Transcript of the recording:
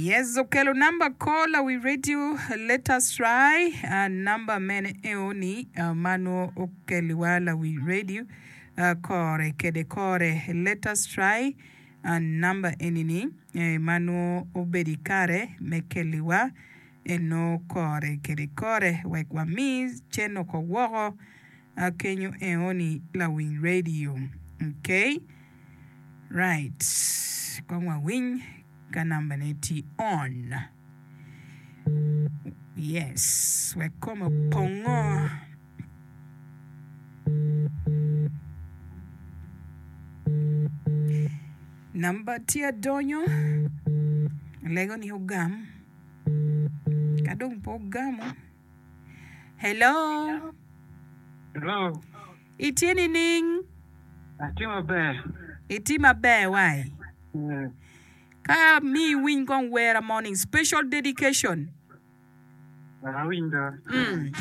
Yes, okelo number call lawi radio let us try uh, number mene eoni uh, ma nwo okeliwa lawi radio uh, kore kede kore let us try uh, number enini eh, ma nwo obedo ikare me keliwa eno kore kede kore wek wami cen oko woko uh, kenyo eoni lawiny radio okay right kong wawiny Ka nambane tye on. Yes, wek kome opongo. Namba tye adonyo, alego ni ogam. Ka dong pe ogamo. Hello. Hello. Itye nining? Atye maber. Itye maber wai? Ka amiyi iwiny kong wera morning special dedication. Wek awiny do. Mm.